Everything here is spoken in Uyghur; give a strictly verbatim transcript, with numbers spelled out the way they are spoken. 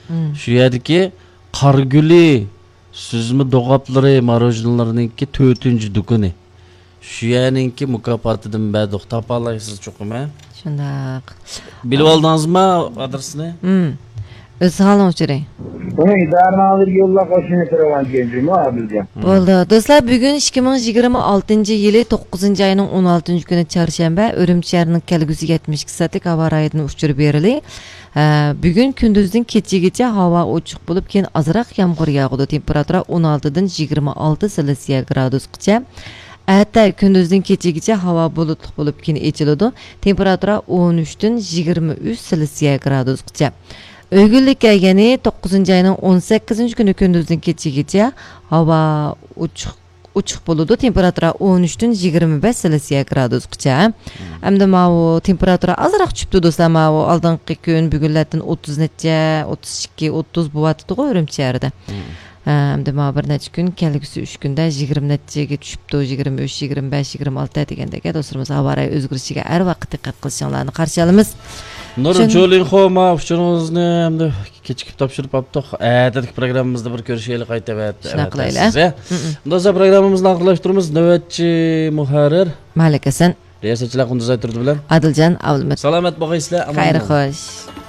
مم. شۇ يەردىكى قارگۈلى سۈزمە دوغاپلىرى، ماروژنىلىرىنىڭكى تۆتىنچى دۇكىنى. شۇ يەرنىڭكى مۇكاپاتىدىن بەردۇق. تاپالايسىز چوقۇم، ھە؟ شۇنداق. بىلىۋالدىڭىزما ئادرېسنى؟ مم. ئۆز ھالىڭ ئۇچۇرى. بۇنى ئىدارىنىڭ ئالدىغا يوللاپ قويۇشنى سوراۋاتىدىكەن جۇمۇ ئابىلجان. مم. بولدى. دوستلار، بۈگۈن ئىككى مىڭ يىگىرمە ئالتىنچى يىلى توققۇزىنچى ئاينىڭ ئون ئالتىنچى كۈنى چارشەنبە، ئۈرۈمچى شەھىرىنىڭ كەلگۈسى يەتمىش ئىككى سائەتلىك ھاۋا رايىدىن ئۇچۇر بېرىلى. ھە، بۈگۈن كۈندۈزدىن كېچىگىچە ھاۋا ئوچۇق بولۇپ، كېيىن ئازراق يامغۇر ياغىدۇ. تېمپېراتۇرا ئون ئالتىدىن يىگىرمە ئالتە سېلسىيە گرادۇسقىچە. ئەتە كۈندۈزدىن كېچىگىچە ھاۋا بۇلۇتلۇق بولۇپ، كېيىن ئېچىلىدۇ. تېمپېراتۇرا ئون ئۈچتىن يىگىرمە ئۈچ سېلسىيە گرادۇسقىچە. ئۆگۈنلۈك كەلگىنى توققۇزىنچى ئاينىڭ ئون سەككىزىنچى كۈنى كۈندۈزدىن كېچىگىچە ھاۋا ئوچۇق، ئوچۇق بولىدۇ. تېمپېراتۇرا ئون ئۈچتىن يىگىرمە بەش سېلسىيە گرادۇسقىچە. مم. ئەمدى ماۋۇ تېمپېراتۇرا ئازراق چۈشۈپتۇ، دوستلار. ماۋۇ ئالدىنقى كۈن بۈگۈنلەردىن ئوتتۇز نەچچە، ئوتتۇز ئىككى، ئوتتۇز بولۇۋاتىدىغۇ ئۈرۈمچى شەھىرىدە. مم. ئەمدى ماۋۇ بىر نەچچە كۈن، كەلگۈسى ئۈچ كۈندە يىگىرمە نەچچىگە چۈشۈپتۇ، يىگىرمە ئۈچ، يىگىرمە بەش، يىگىرمە ئالتە دېگەندەك. دوستلىرىمىز ھاۋا رايى ئۆزگىرىشىگە ھەر ۋاقىت دىققەت قىلىشىڭلارنى قارشى ئالىمىز. نۇر چۈن- جولىنخو، ما ئۇچۇرىڭىزنى ئەمدى كېچىكىپ تاپشۇرۇپ قاپتۇق. ئەتىدىكى پروگراممىمىزدا بىر كۆرۈشەيلى قايتا. شۇنداق قىلايلى. سىزگە. مم. دوستلار، پروگراممىمىزنى ئاخىرلاشتۇرىمىز. نۆۋەتچى مۇھەررىر مالىك ھەسەن. رىياسەتچىلەر قۇندۇز ئايتۇردى بىلەن ئادىلجان ئابلىمىت. سالامەت بولغايسىلەر، ئامان خەير بولۇڭ. خوش.